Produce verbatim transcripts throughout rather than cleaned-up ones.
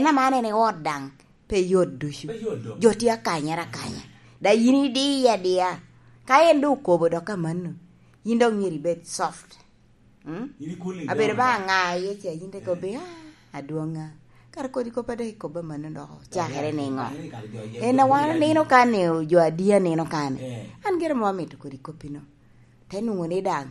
En aman en i ot daŋ, pe yot ducu. Pe yot dok. Jo tye akanyere akanya. Da yin idiye adiya. Ka en doŋ okobo dok amanno, yin dok myero ibed soft. Mm? Yin i cooling down. Abedo ba aŋa iye ca, yin te kobbi, "Ah, adwoŋa." Kara kodi kop a dok ikobo amanno dok ocakere niŋo? En a wan onino ka ni jo adiya nino ka ni. Eh. An gire mo amito kodi koppino. Te nwoŋo ni daŋ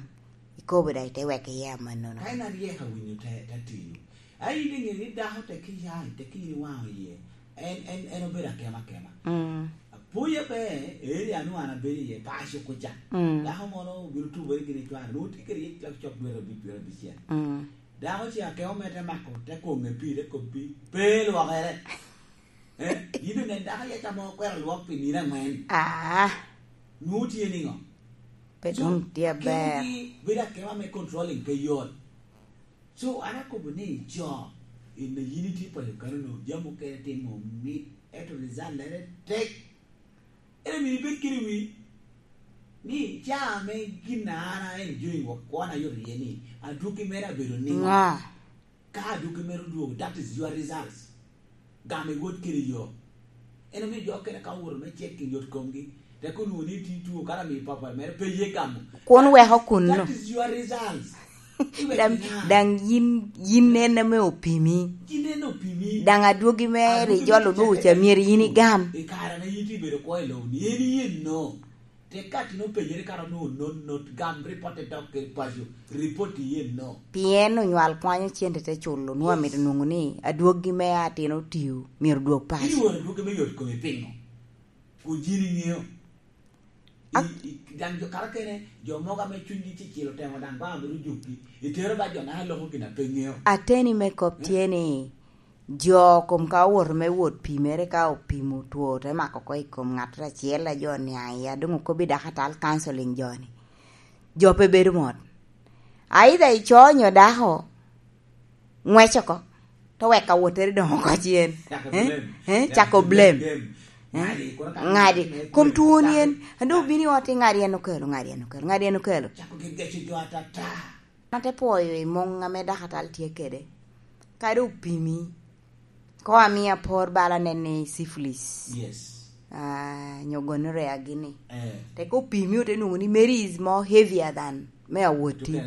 ikobo daŋ ite wek iye amannono. Ka en aryek awinyo te, te tiyo. A in iŋeo ni dako tek iya, tek in iwaŋo iye. En, en, en obedo akema akema. Mm. Apoya be, eri anu an abedo iye, paco kuca. Mm. Dako mono obino tubere gini cware, nwoŋo tye kede yec cok cok dwe abic, dwe abicel. Mm. Dako ce akemo mere te mako, te koŋe pii, te kobbi, pe lwokere. Eh, yin onen dako yec amo okwero lwok pi nino aŋwen. Ah. Nwoŋo tye niŋo? Pe doŋ tye aber. Akemo gi bedo akema me controlling pe yot. So, an akobo ni jo, in a yin itye paco kano-nu, jami mukene timo mit, ento result lere tek. En omio ibed kede wi, ni ca ame gin a an a enjoying wok kwona yot iye ni, adwogi mere abedo niŋo? Ŋa? Ka adwogi mere odwogo, that is your results. Gamo iwot kede yo. En omio jo okene ka owoto me checking yot komgi, tek onwoŋo ni tye two, kara miyo papa mere pe ye gamo. Kun weko kunno. That is your results. Iwek daŋ, niya, daŋ yin, yin en ame opimi. Yin en opimi. Daŋ adwogi mere adwogi ijolo mere nwoŋo ca myero yin igam. I kare ame yin tye bedo kwo i lobo ni, en yen no. Tek ka tin openyere kara onwoŋo not, not, gam report dok kede paco, report iye no. Pien onywal kwanyo cente te culo, nwoŋo amito nwoŋo ni adwoggi me atin otio myero odwog paco. Iworo adwoggi me yot kome piŋo? Kun yin iŋeo. I, i, daŋ jo karakene, jo mogo ame cunygi cicilo temo daŋ ba mito jukki, itero ba jo na loko gin a pe ŋeo. Ateni me kop tye ni, jo kom ka owoto me wot pimere, ka opimo two, te mako oko i kom ŋattoro acel, a jo oniaŋ iye, a doŋ okobbi dakatal counseling jo-ni. Jo pe bedo mot. Either ico nyo dako, ngwec oko, te wek awottere doŋ oko cen. Cako blame. Eh? Eh? Cako blame. Ŋadi, kono ka ŋadi. Kom twoni en, a doŋ obino i ot, iŋadi en okelo, ŋadi en okelo, ŋadi en okelo. Cako gegeco jo atata. An ate pwoyo i muŋ ame dakatal tye kede. Kadi opimi, ko amio apor bala nen ni syphilis. Yes. Ah, nyo gonorrhea gini. Eh. Tek opimi ote nwoŋo ni Mary is more heavier than me awoti.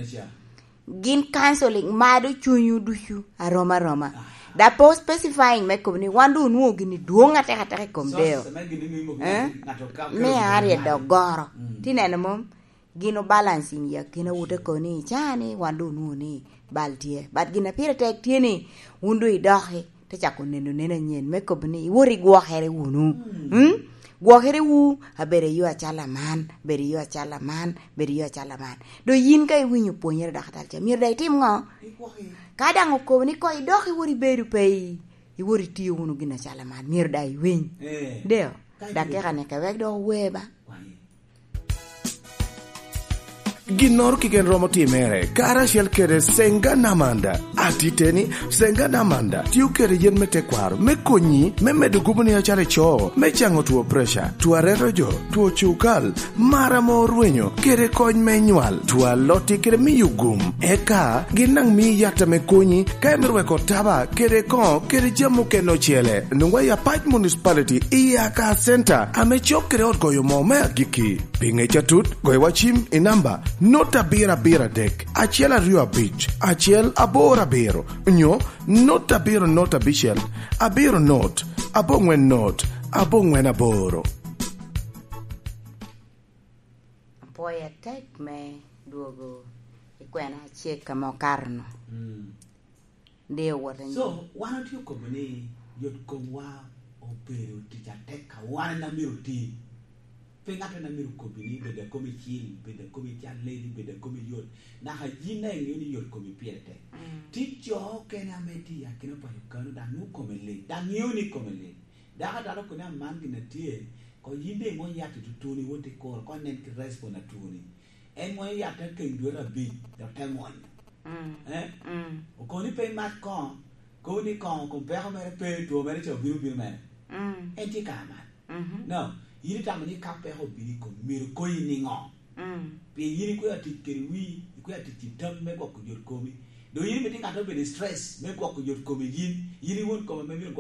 Gin counseling mado cunywu ducu arom aroma. Ah. Da pe specifying me kobo ni wan doŋ onwoŋo gini dwoŋ atek atek i kom deo. Eh? Me aryo dok goro. Mm. Ti neno mom? Gin obalancing i akinawu, te kobo ni, "Ca ni wan doŋ onwoŋo ni bal tye." But gin a pire tek tye ni, wun doŋ idoki, te cako neno neno anyen, me kobo ni, iwot igwokere wunu. Mm. Mm? Gwokere wu, abedo i yo acalo aman, bedo i yo acalo aman, bedo i yo acalo aman. Doŋ yin ka iwinyo pwonyere dakatal ca, myero daŋ itim ŋo? Igwoki. Ka daŋ okobo ni ko idok iwot ibedo pe i, iwot itiyo wunu gin acalo aman, myero daŋ iwiny. Eh. Deo, dakika ni kewek dok owe ba. Ginnoro keken romo timere karacel kede Senga Namanda. Atiteni, Senga Namanda tio kede yen me tekwaro me konyi me medo guboni acalo ico, me caŋo two preca, two aretojo, two cukal, mar ame orwenyo, kede kony me nywal, two alotti kede miyo gum. Eka gin daŋ mii yat ame konyi ka imito weko taba kede koŋo kede jami mukene ocele. Nwoŋwa i Apac Municipality i Aka Center ame cok kede ot goyo moo me agikki. Pi ŋec atut, goyo wa cim i namba not abiro abiro adek, acel aryo abic, acel aboro abiro, nyo not abiro not abicel, abiro not, aboŋwen not, aboŋwen aboro. Apwoyo atek me dwogo i kwena acek ame okato-nu. Mm. Dee owot anyim. So, wan otye okobo ni yot komwa obedo tic atek ka wan en amito oti. Pe ŋat en amito kobbi ni bed a komi cil, bed a komi cal leli, bed a komi yot. Naka yin daŋ iŋeo ni yot komi pire tek. Mm. Tye jo okene ame tye i akina paco kano daŋ nwoŋo kome lit, daŋ ŋeo ni kome lit. Dako atalo koni aman gin a tye, ko yin daŋ imony yat i tutuni, wot i kuro, ko nen ki respond a twoni. En mwonyo yat te keny dwe abic, dok te mwonyo. Mm. Eh? Mm. Okoni pe imat koŋo, kobo ni koŋo kom peko mere pe, two mere ca obino, obino mere. Mm. En tye kare man. Mhm. No, yin itamo ni ka peko obino i kom, myero konyi niŋo? Mm. Pien yin ikwero atic kede wii, ikwero atic i tam me gwoko yot komi. Doŋ yin imito ŋat obedo i stress me gwoko yot kome yin, yin iwon kome ame myero